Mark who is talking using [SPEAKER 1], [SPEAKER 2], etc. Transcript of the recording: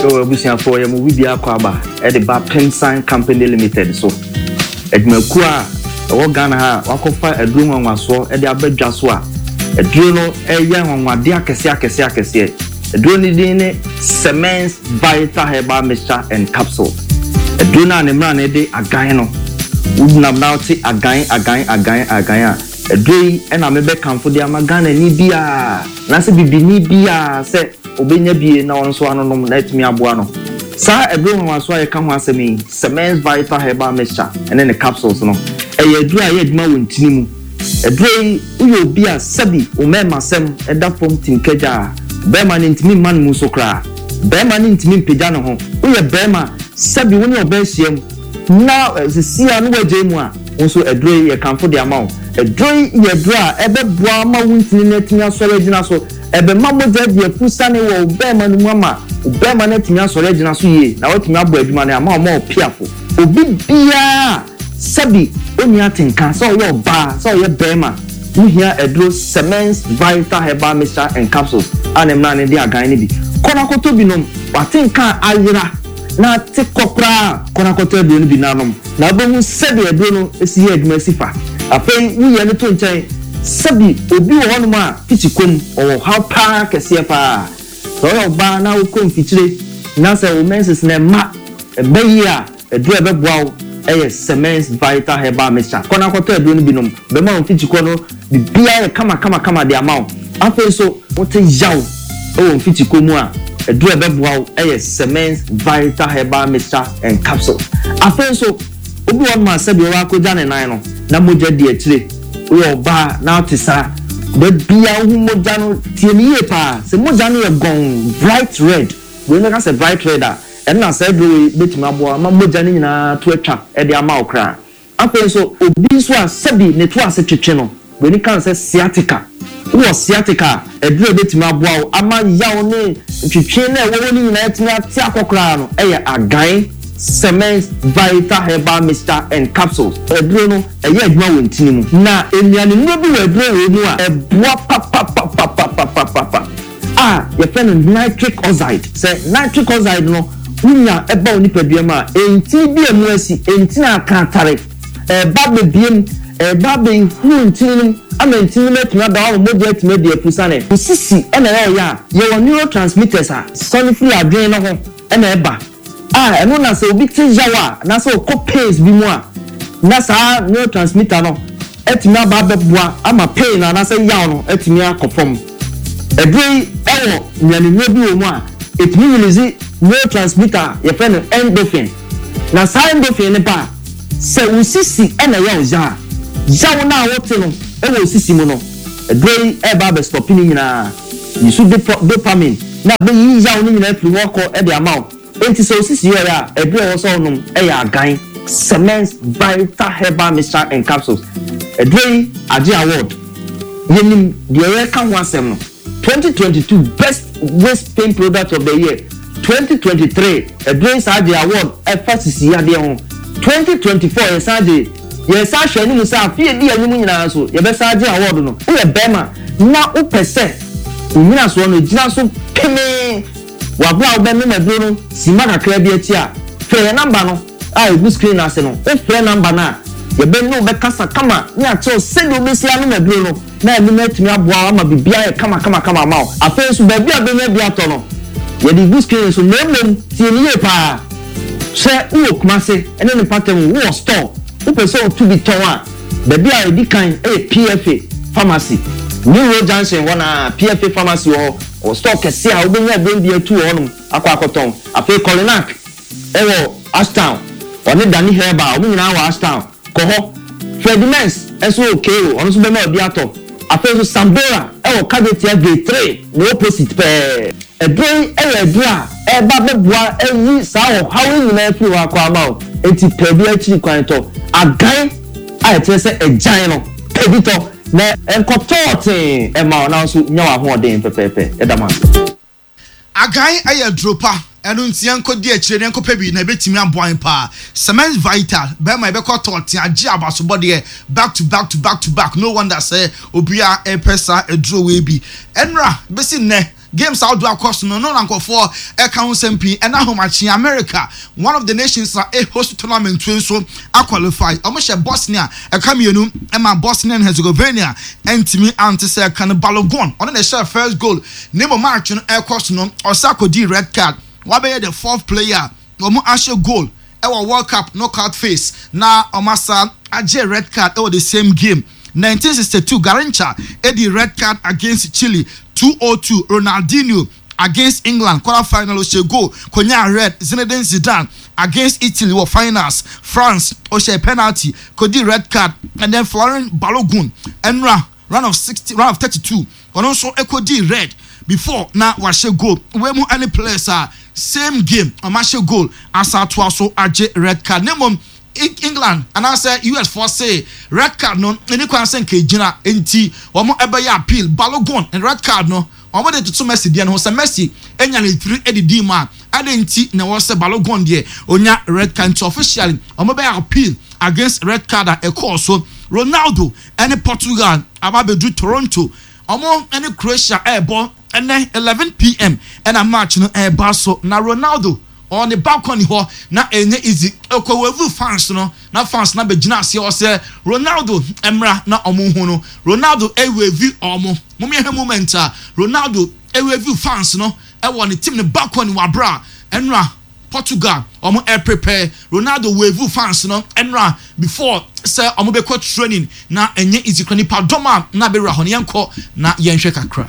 [SPEAKER 1] Yo, abusuafoɔ, yɛ mo biribiara kɔ aba de ba Pemsan Company Limited so. Adwumakuo a ɛwɔ Ghana ha a wakɔfa aduro nwanwasoɔ de aba dwa so a aduro no ɛyɛ nwanwadeɛ akɛseɛ akɛseɛ akɛseɛ. Aduro no din ne Semens Vital Herbal Mixture and Capsule. Aduro no a ne mmara no de agan no, wonam na wote agan agan agan agan a, aduro yi na mebɛkamfo de ama Ghanani biara anaasɛ bibini biara sɛ ɔbɛnya bie na ɔno nso anonom na atumi aboa no. Saa aduro nwanwasoɔ a yɛka ho asɛm yi, Semens Vital Herbal Mixture ne ne capsules no, ɛyɛ aduro a ɛyɛ adwuma wɔ ntini mu. Aduro yi, woyɛ obi a sɛbi wo mmarimasɛm da fam tim kagya a, barima no ntumi mma ne mu so koraa. Barima no ntumi mpagya ne ho. Woyɛ barima, sɛbi wo ne ɔbaa hyiam na seesei a na woagyae mu a, wo nso aduro yi yɛkamfo de ama wo. Aduro yi yɛ aduro a ɛbɛboa ama wo ntini no atumi asɔre agyina so. Ɛbɛma mogya adi afurusiane wɔ wo barima no mu ama wo barima no atumi asɔre agyina so yie na watumi abɔ adwuma no ama wɔn a wɔpiafo. Obi biara a sɛbi onni atenka, sɛ ɔyɛ ɔbaa, sɛ ɔyɛ barima, wohia aduro Semens Vital Herbal Mixture and Capsules a ne mmara no de agan no bi. Kɔ na kɔtɔ bi nom. W'atenka a ayera na ate kɔ koraa a, kɔ na kɔtɔ aduro no bi na nom, na wobɛhu sɛdeɛ aduro no si yɛ adwuma si fa. Afei woyɛ no to nkyɛn. Sɛbi obi wɔ hɔnom a tikyi kɔm, ɔwɔ ɔhaw paa kɛseɛ paa. Sɛ woyɛ ɔbaa na wokɔ mfikyire na sɛ wo menses no mma, ɛba yie a, Aduru a ɛbɛboa wo yɛ Semens Vital Herbal Mixture. Kɔ na kɔtɔ aduro no bi nom. Ɛbɛma wo mfikyikɔ no biribiara ayɛ kamakamakama de ama wo. Afei nso, wote yaw wɔ mfikyikɔ mu a, aduru a ɛbɛboa wo yɛ Semens Vital Herbal Mixture and Capsules. Afei nso, obi wɔ hɔnom a sɛdeɛ wakɔgya ne nan no, na mogya di akyire. Woyɛ ɔbaa na wote saa, da biara wohu mogya no, tie me yie paa, sɛ mogya no yɛ gɔnn, bright red, wei mɛka sɛ bright red a, Ɛno na saa aduro wei bɛtumi aboa ama mogya no nyinaa to atwa de ama wo koraa. Afei nso, obi nso a sɛbi ne to ase twetwe no, buroni ka no sɛ sciatica. Wowɔ sciatica a, aduro a ɛbɛtumi aboa wo ama yaw ne ntwetwe no a ɛwɔ hɔ no nyinaa atumi ate akɔ koraa no yɛ Agan Semens Vital Herbal Mixture and Capsules. Aduro no, ɛyɛ adwuma wɔ ntini mu. Na nnuanennuro bi wɔ aduro wei mu a ɛboa papapapapapapapa. a yɛfrɛ no nitric oxide. Sɛ nitric oxide no wunya ba wo nipadua mu a, ntini bi a emu asi, ntini a aka atare, ɛreba abɛbue mu, ɛreba abɛhuru ntini no mu ama ntini no mu atumi ada hɔ ama mogya atumi adi afusane. Wo sisi na ɛyɛ ɔya a, yɛwɔ neurotransmitters a sane firi adwene no ho na ɛba a ɛno na sɛ obi te yaw a anaasɛ ɔkɔ pains bi mu a na saa neurotransmitter no atumi aba abɛboa ama pain no anaasɛ yaw no atumi akɔ fam. Aduro yi wɔ nnuanennuro bi wɔ mu a ɛtumi release neurotransmitter a yɛfrɛ no endorphin. Na saa endorphin no ba a, sɛ wo sisi na ɛyɛ wo ya a, yaw no a wote no wɔ wo sisi mu no, aduro yi reba abɛstɔpe ne nyinaa. Yi so dopamine na abɛyi yaw no nyinaa afiri hɔ akɔ de ama wo. Enti sɛ wo sisi yɛ ɔya a, aduru a ɛwɔ sɛ wonom yɛ Agan Semens Vital Herbal Mixture and Capsules. Aduro yi agye award. Yɛnim deɛ yɛreka ho asɛm no. 2022 Best Waist Pain Product of the Year 2023, aduro yi san gyee award ɛfa sisi yadeɛ ho. 2024 yɛsan gyee. Yɛresan ahwɛ anim sɛ afe a edi anim nyinaa nso, yɛbɛsan agye awɔɔdo no. Woyɛ barima na wopɛ sɛ wo nnyinasoɔ no gyina so pemee wɔ bere a wobɛnom aduro no simma kakraa bi akyi a, frɛ yɛn namba no a ɛgu screen no ase no. Wofrɛ namba no a, yɛbɛne wo bɛkasa kama ne akyerɛ wo sɛdeɛ wobɛsi anom aduro no na ɛno no atumi aboa wo ama biribiara ayɛ kamakamakama ama wo. Afei nso, baabi a wobɛnya bi atɔ no, yɛde regu screen no so, na mmom tie no yie pa ara. Sɛ wowɔ Kumase ne ne mpɔtam, wowɔ store, wopɛ sɛ wotu bi tɔn a, baabi a ɛdi kan yɛ PFA Pharmacy. New Road Junction hɔ no ara, PFA Pharmacy wɔ hɔ. Wɔwɔ store kɛseɛ a wobɛnya aduro bi atu wɔ hɔnom akɔ akɔtɔn. Afei Kolinak wɔ Ashtown, ɔne Danny Herbal, wɔn nyinaa wɔ Ashtown. Kɔ hɔ. Freddie Mens nso wɔ Cairo, ɔno nso bɛma obi atɔ. Afei nso Sambora wɔ Kajetia Gate 3, ne opposite pɛɛ. Aduro yi yɛ aduro a ɛreba abɛboa ayi saa ɔhaw yi nyinaa afiri hɔ akɔ ama wo. Enti pɛ bi akyiri kwan tɔ. Agan a ɛkyerɛ sɛ agyan no, pɛ bi tɔ na ɛnkɔtɔ ɔtee mma wo na wo nso nya w'ahoɔden pɛpɛɛpɛ. Yɛda mo ase.
[SPEAKER 2] Agan yɛ aduro pa, ɛno nti yɛnkɔdi akyire na yɛnkɔpɛ bi na ɛbɛtumi aboa yɛn paa. Cement Vital, bɛrima yɛbɛkɔ tɔɔte agye abasobɔdeɛ back to back to back to back, no wonder sɛ obiara repɛ saa aduro wei bi. Ɛnora bɛsi nnɛ. Games ahodoɔ akɔ so no, no na nkurɔfoɔ ɛka ho nsɛm pii. Ɛna ahomakye America, one of the nations a ɛ host tournament yi nso aqualify. Wɔn hyɛ Bosnia ɛka mmienu ɛma Bosnia and Herzegovina ɛntumi ante sɛ ɛka no. Balogun, ɔno na ɛhyɛ first goal. Ne mo match no ɛkɔ so no, ɔsa akɔdi red card. Wabɛyɛ the fourth player wɔn ahyɛ goal ɛwɔ World Cup knockout phase na wɔn asa agye red card ɛwɔ the same game. 1962, Garrincha edi red card against Chile 202. Ronaldinho against England quarter final, ɔhyɛ goal konya red. Zinedine Zidane against Italy wɔ finals, France, ɔhyɛ penalty kodi red card. And then Folarin Balogun, ɛnura round of 60, round of 32, ɔno nso ɛkɔdi red before na wahyɛ goal. Wei mu ɛne players a same game ɔmo ahyɛ goal asa atoa so agye red card. Ne mmom England anaasɛ US foɔ se red card no ɛni kwan sɛ nka egyina, nti wɔn ɛbɛyɛ appeal. Balogun red card no, wɔn de toto Messi deɛ no ho sɛ Messi enya ne tiri edidi mu a, ade nti na ɛwɔ sɛ Balogun deɛ onya red card? Nti officially wɔn bɛyɛ appeal against red card a ɛkɔɔ so. Ronaldo ɛne Portugal aba abɛdu Toronto. Wɔn ɛne Croatia ɛɛbɔ ɛnɛ 11 p.m. ɛna match no ɛɛba so, na Ronaldo ɔne balcony hɔ na ɛnyɛ easy. Ɛkɔ wave fans no na fans na bɛgyina aseɛ hɔ sɛ Ronaldo mmra na ɔmo hu no. Ronaldo ɛwave ɔmo. Mo yɛhwɛ moment a Ronaldo ɛwave fans no ɛwɔ ne team ne balcony wɔ abira ɛnura Portugal ɔmo ɛprepare. Ronaldo wave fans no ɛnura before sɛ ɔmo bɛkɔ training na ɛnyɛ easy kora. Nipa dɔm a na bɛwura hɔ no, yɛnkɔ na yɛnhwɛ kakra.